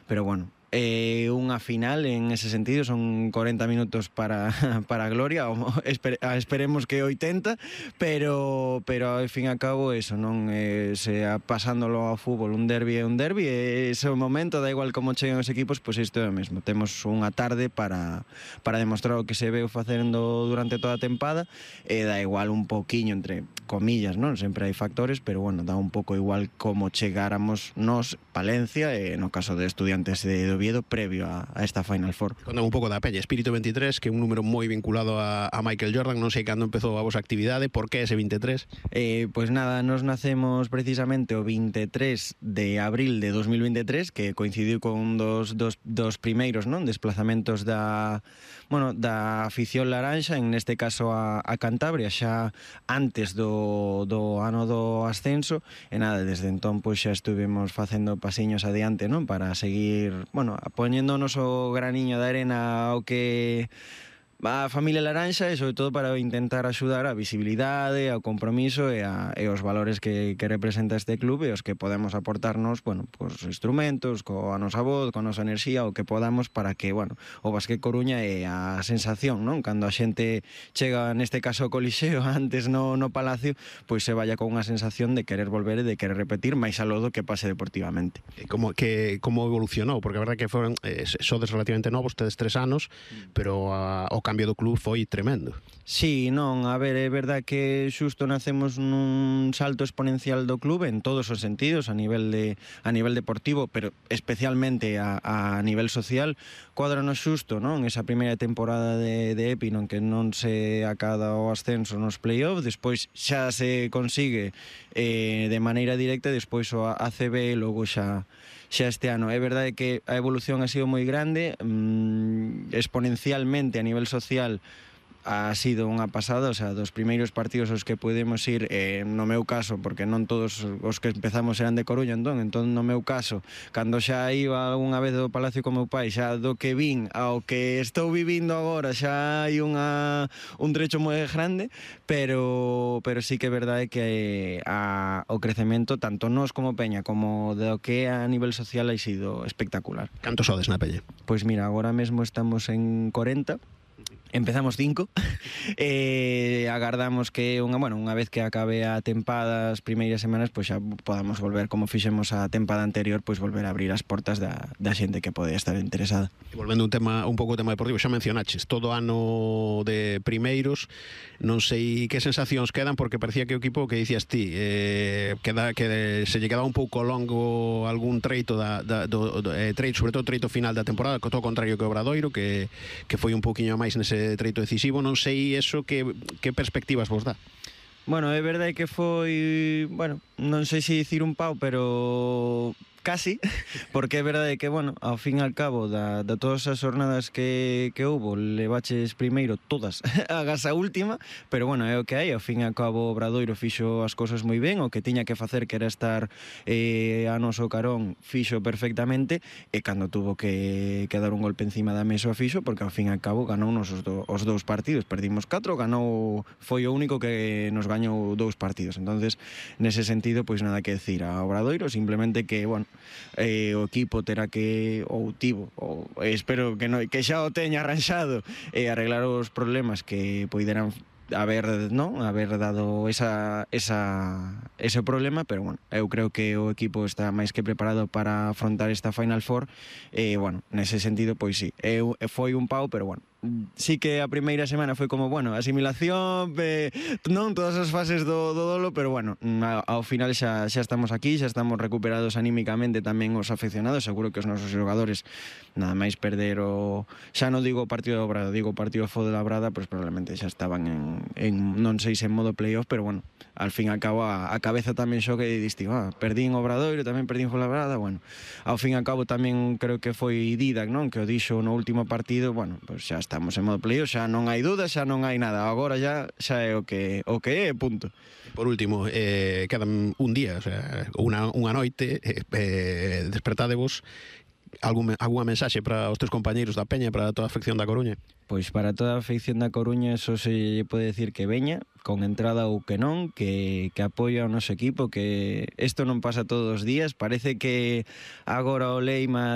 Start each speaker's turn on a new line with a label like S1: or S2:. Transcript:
S1: pero bueno, unha final en ese sentido, son 40 minutos para a gloria, esperemos que 80, pero ao fin e ao cabo eso, non pasándolo ao fútbol, un derbi é un derbi, e ese momento, da igual como chegan os equipos, pois isto é o mesmo, temos unha tarde para demostrar o que se veu facendo durante toda a tempada, e dá igual un poquiño, entre comillas, non? Sempre hai factores, pero bueno, dá un pouco igual como chegáramos nos, Palencia, e no caso de Estudiantes de Oviedo, previo a esta Final Four.
S2: Contame un pouco da Peña, Espírito 23, que é un número moi vinculado a Michael Jordan, non sei cando empezou a vosa actividade, por que ese 23?
S1: Pois nada, nos nacemos precisamente o 23 de abril de 2023, que coincidiu con dos primeiros, non, desplazamentos da afición laranxa, en neste caso a Cantabria, xa antes do ano do ascenso, e nada, desde entón pois xa estuvemos facendo pasiños adiante, non, para seguir, poñendo o noso graniño de arena ao que a familia laranxa, e sobre todo para intentar axudar a visibilidade, ao compromiso e aos valores que representa este club, e os que podemos aportarnos, cos instrumentos, coa nosa voz, coa nosa enerxía, o que podamos, para que, o Básquet Coruña é a sensación, non? Cando a xente chega, neste caso ao Colixeo, antes no Palacio, pois se vaya con unha sensación de querer volver e de querer repetir, máis aló do que pase deportivamente.
S2: Como evolucionou? Porque a verdade que foron, sodes relativamente novos, tedes 3 anos, pero o cambio do club foi tremendo.
S1: Sí, non, a ver, é verdad que xusto nacemos nun salto exponencial do club en todos os sentidos, a nivel deportivo, pero especialmente a nivel social. Cuadranos xusto, non? Esa primeira temporada de EPI, non, que non se acada o ascenso nos play-off, despois xa se consigue de maneira directa, despois o ACB, e logo xa este ano. É verdade que a evolución ha sido moi grande, exponencialmente a nivel social ha sido unha pasada, o sea, dos primeiros partidos aos que podemos ir, no meu caso, porque non todos os que empezamos eran de Coruña, entón no meu caso, cando xa iba unha vez do Palacio con meu pai, xa do que vin ao que estou vivindo agora, xa hai un trecho moi grande, pero sí que é verdade que o crecemento, tanto nós como Peña, como do que a nivel social, ha sido espectacular.
S2: Cantos sodes na Peña?
S1: Pois mira, agora mesmo estamos en 40, empezamos 5, agardamos que unha vez que acabe a tempada, as primeiras semanas, pois xa podamos volver, como fixemos a tempada anterior, pois volver a abrir as portas da xente que pode estar interesada.
S2: E volvendo un pouco ao tema deportivo, xa mencionaches todo ano de primeiros, non sei que sensacións quedan, porque parecía que o equipo, que dicías ti, que se lle quedaba un pouco longo algún treito sobre todo o treito final da temporada, co todo contrario que o Obradoiro, que foi un pouquiño máis nese treito decisivo. Non sei eso que perspectivas vos dá.
S1: É verdade que foi, non sei se dicir un pau, pero casi, porque é verdade que, ao fin e ao cabo da todas as jornadas que houbo, levaches primeiro todas agas a última, pero é o que hai, ao fin e ao cabo o Obradoiro fixo as cousas moi ben, o que tiña que facer, que era estar a noso carón, fixo perfectamente, e cando tuvo que dar un golpe encima da mesa o fixo, porque ao fin e ao cabo ganou os 2 partidos, perdimos 4, foi o único que nos gañou 2 partidos, entonces nese sentido, pois nada que decir a Obradoiro, simplemente que, o equipo terá que, espero que xa o teña arranxado, arreglar os problemas que poideran haber dado ese problema, pero eu creo que o equipo está máis que preparado para afrontar esta Final Four, nese sentido, pois sí, foi un pau, pero sí que a primeira semana foi como, asimilación, non todas as fases do dolo, pero ao final xa estamos aquí, xa estamos recuperados anímicamente, tamén os afeccionados, seguro que os nosos xogadores, nada máis perder xa non digo o partido do Brada, digo o partido de Labrada, pois probablemente xa estaban non sei se en modo playoff, pero al fin e ao cabo a cabeza tamén xoga e distingo, perdín o Obradoiro, tamén perdín o Labrada, ao fin e ao cabo tamén creo que foi Didac, non, que o dixo no último partido, pois xa estamos en modo playoff, xa non hai duda, xa non hai nada, agora xa é o que é, punto.
S2: Por último, quedan un día, o sea, unha noite, despertadevos, algunha mensaxe para os teus compañeiros da Peña, para toda a afección da Coruña?
S1: Pois para toda a afección da Coruña, só se pode decir que veña, con entrada ou que non, que apoia o noso equipo, que isto non pasa todos os días, parece que agora o Leima